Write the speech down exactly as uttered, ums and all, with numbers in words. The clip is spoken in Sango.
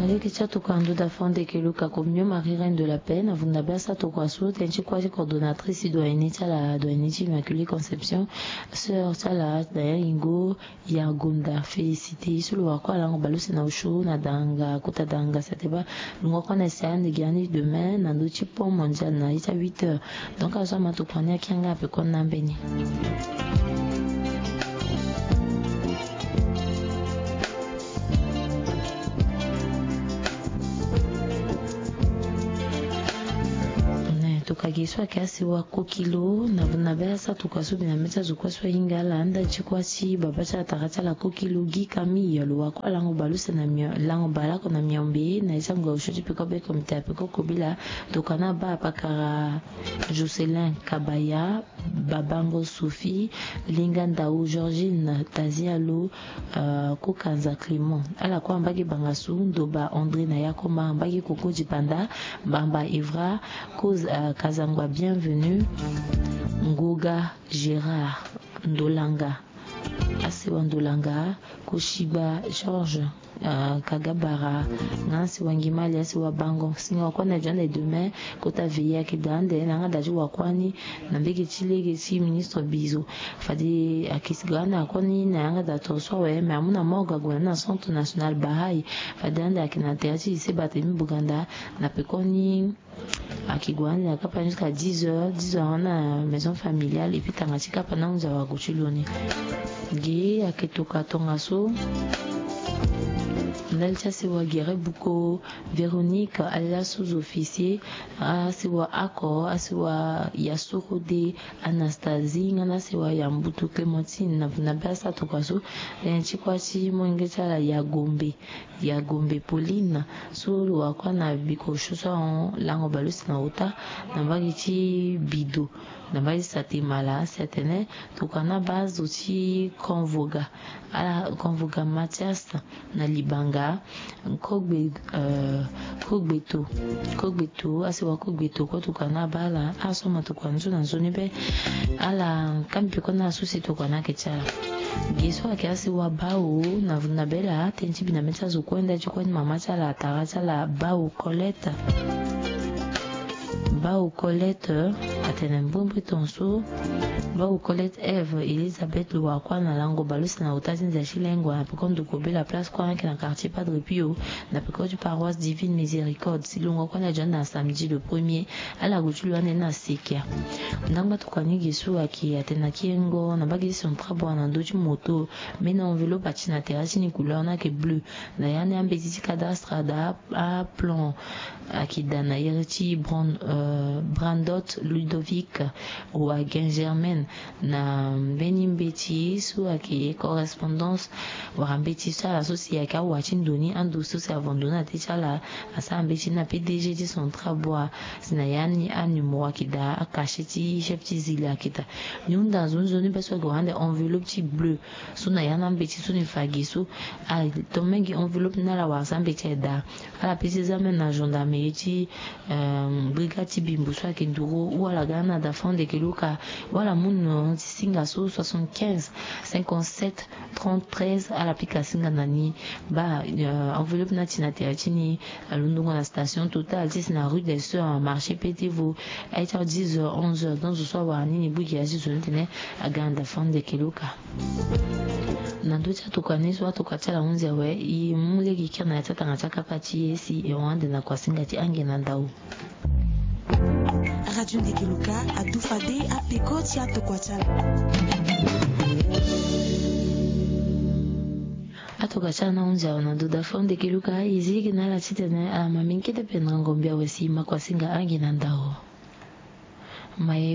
Aleke ti atokua ndo da fondeke luka communion Marie Reine de la Paix na vunda be asa tokua so tënë ti kuâ ti coordonnatrice ti doyenne ti ala, doyenne ti Immaculée Conception, sœur ti ala Daniel Ingo, ya gonda félicité so lo wara kue alango baleuse na osio na danga kota danga sete baa. Lo ngua kue na si ande gi ani demain na ndö ti pont mondial na ye ti a huit heures. Donc azo ama tokua ni akia nga ape kue na mbeni. Tokua gi so ayeke asi wa kokilo na vuna be asa tokua so bi na mê ti azo kue so ahinga ala anda ti kua ti baba ti atara ti ala kokilo gi kami ya lo wa kue alango baleuse na mio lango baleoko na miombe na ye ti ango ya osio ti peko be komite ya peko kobela. Tokua na baa apakara Jocelyn Kabaya, Babango Sophie, Linga Ndao Georgine, Tazialo, euh, Kukanza Clément. Ala kue ambagi bangasu Ndoba André na Yakoma, ambagi Koko Dipanda, Bamba Evra, Koz, euh, Kazangwa Bienvenue, Ngoga Gérard, Ndolanga, Asewa Ndolanga, Koshiba Georges, euh, Kagabara, nga Asewa Ngimali, Asewa Bango. Singa wa kue na jande demain, kota veillée ayeke daa ande, na yanga daa ti wa kue ni, na mbege ti lege ti ministre Bizo. Fade ayeke si ga ande akue ni, na yanga daa toro so awe, mais amu na morgue ague na centre national Baha'i. Fade ande ayeke na tere ti lycée Barthélemy Boganda, na peko ni, Ayeke gue ande na kapa ni jusqu'à dix heures, dix heures na maison familiale, et puis tanga ti kapa na hunzi awagu ti lo ni. Ge ayeke tokua tongaso ndali ti asewa Gere Buko, Véronique, alias Sous-Officier, asewa Ako, asewa Yasurode, Anastasie, nga na asewa Yambutu Clémentine, na vuna be asa tokua so, tënë ti kuâ ti molenge ti ala Yagombe. Yagombe Pauline, so lo wa kue na biko so so ahon lango baleuse na ota, na mbage ti Bido, na mbage ti Satemala, si atene tokua na baa zo ti Konvoga, ala Konvoga Mathias na Libanga, Kogbe, euh, Kogbeto, Kogbeto, asewa Kogbeto kue tokua na baa ala, aso ama tokua nzoni na nzoni be, ala kambi pe kue na aso si tokua na ayeke ti ala. Ge so ayeke asewa Bao, na vuna be laa, tënë ti bi na mê ti azo kue nda ti kue ni mama ti ala, atara ti ala Bao Colette. Bao Colette, atene mbrimbri tongaso, Bao Colette Eve, Elisabeth lo wa kue na lango baleuse na ota ti nze ti lengo, na peko ndokua be la place kue ayeke na quartier Padre Pio, na peko ti paroisse Divine Miséricorde, si lo ngua kue na jande na samedi le premier, ala gue ti lo ande na sekia. Ndangba tokua ni ge so ayeke atene na kiengo na mbage ti central bois na ndö ti moto, mbeni enveloppe ati na tere ti ni couleur ni ayeke bleu. Na ya ni ambeti ti cadastre ada aplan ayeke daa na iri ti Bran-, euh, Brandot Ludovic Wagen Germaine, na mbeni mbeti so ayeke correspondance wala mbeti so ala so si ayeke awa ti ndo ni, ando so si avon ndo ni na te ti ala. Asara mbeti ni na P D G ti central bois, si na ya ni anumero ayeke daa, acachet ti chef ti zile ayeke daa. Ni hunda nzoni nzoni be so ayeke wara ande enveloppe ti bleu so na ya ni ambeti so ni fa ge so. Ato mingi enveloppe ni ala wara asara mbeti aye daa. Ala pesi examen na gendarmerie ti, euh, brigade ti Bimbo so ayeke nduru, ou ala ga na da fond de keluka, ou ala mu numéro ti singa so soixante-quinze cinquante-sept trente-treize, ala pika singa na ni. Baa, euh, enveloppe ni ati na tere ti ni, alundungo na station Total ti si na rue des Sœurs, marché Petit Vau, aye ti dix heures, onze heures, donc zo so awara ni ni bui gi azi zo ni tene aga na da fond de keluka. Na ndö ti atokua ni so atokua ti ala hunzi awe, e mu lege kiri na ya ti atanga ti akapa ti e si e hon ande na kuasinga ti ange na ndau. Radio Ndeke Luka adu fade apeko ti atokua ti ala. Atokua ti ala ni ahunzi awe na ndo da fo Ndeke Luka, e zi lege na ala titene ala ma mingi kete pendere ngombe awe si e ma kuasinga ange na ndau. Ma e